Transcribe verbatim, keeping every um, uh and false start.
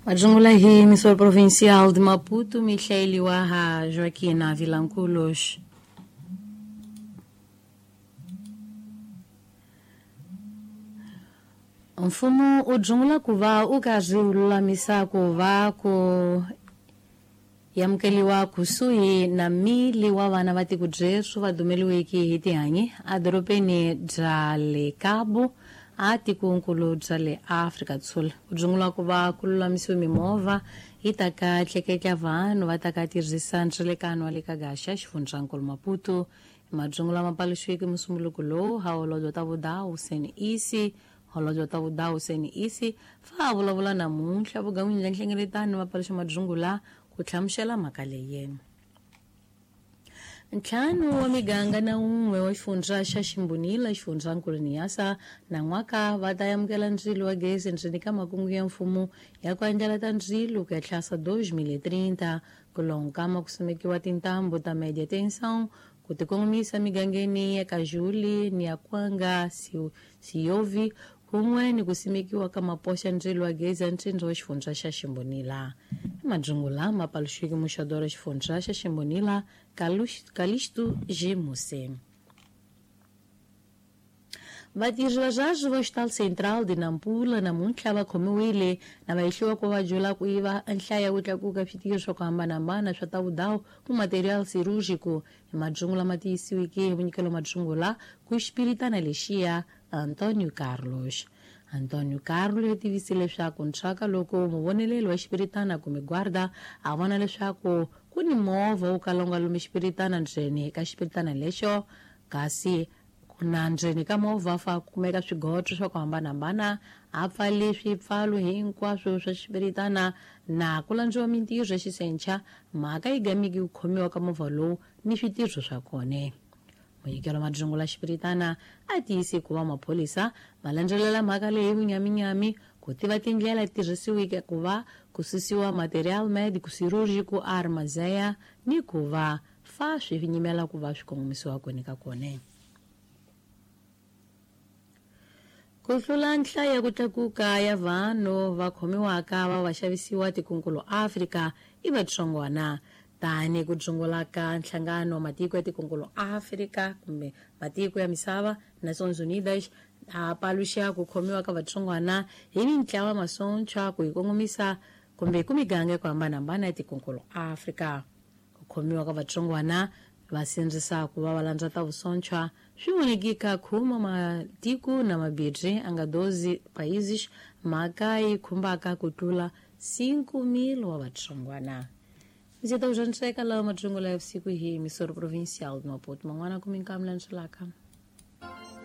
Majungula hi emissora provincial de Maputo, Michele Waha, Joaquina Vilanculos. Mfumo u dzungula ku va u karhi u lulamisa ku va ku yamukeliwa kusuhi na mili wa vana va tiko byesu va dumeliweke hi tihanyi edorobeni bya le Cabo a tikonkulu bya le Afrika Dzonga. Ku dzungula ku va ku lulamisiwe mimovha yi ta ka tleketla vanhu va ta ka tirhisa ndzelekano wa le ka gaxa xifundzankulu Maputo. Madzungula ma paluxiweke musumbuluko lowu ha holobye ta vudawu Sen Isi holobye ta vudawu Sen Isi fa a vulavula namuntlha vugan'wini bya nhlengeletano va paluxa madzungula ku hlamusela mhaka leyi. Ntlhanu wa miganga na un'we wa xifundza xa Ximbonila xifundzankulu Niassa na n'waka va ta amukela ndzilo wa gezi ndzeni ka makungu ya mfumo ya ku andlala ta ndzilo ku ya tlhasa dos mil e trinta ku lonkama ku simekiwa tintambu ta média tensão ku tikongomisa migangeni ya Kajuli ni ya Kwanga Siyovi kun'we ni ku simekiwa ka mapoxa ndzilo wa gezi ya ntsindza wa xifundza xa Ximbonila. Madzungula ma paluxiweke muxadora xifundza xa Ximbonila Calixto G. Muse. Vatirhi va swa va Hospital Central de Nampula namuntlha va khomiwile na va hehliwa ku va jola ku yiva nhlayo ya ku tlakuka switirho swa ku hambanahambana swa ta vudawu ku material cirúrgico hi madzungula ma tiyisiweke hi vunyikelo madzungula ku xipiritana lexiya Antonio Carlos. Antonio Carlos u tivise leswaku ntswaka loko muvoneleli wa xipiritana kumbe guarda a vona leswaku ku ni movha wo kala wu nga lumi xipiritana ndzeni ka xipiritana lexo kasi na ndzeni ka movha fa kumeka swigoto swa ku hambanahambana a pfali swipfalo hinkwaswo swa xipiritana na ku landziwa mintirho ya xisencha mhaka yi gamiki ku khomiwa ka movha lowu ni switirho swa kona. Munyikelo madzungula xipiritana a tiyise ku va maphorisa ma landzelela mhaka leyi vunyaminyami ku tiva tindlela tirhisiweke ku va ku susiwa material médico cirúrgico armazeya ni ku va fa swi nyimela ku va swi kongomisiwa kona ka kona. Ku hlula nhlayo ya ku tlakuka ya vanhu va khomiwaka va va xavisiwa tikonkulu Afrika i vatsongwana tani ku dzungula ka nhlangano wa matiko ya tikonkulu Afrika kumbe matiko ya misava Nations Unidas a paluxa ku khomiwa ka vatsongwana hi mintlawa masontshwa ku yi kongomisa kumbe ku miganga ya ku hambanahambana ya tikonkulu Afrika. Ku khomiwa ka vatsongwana va sindzisa ku va va landza ta vusontshwa swi vonekika khuma matiko na mabidri a nga doze países mhaka yi khumbaka ku tlula cinco mil wa vatsongwana. Ndzi ta ku dyondzeka lawa madzungula ya vusiku hi emissora provincial de Maputo man'wana ku minkamu landzelaka.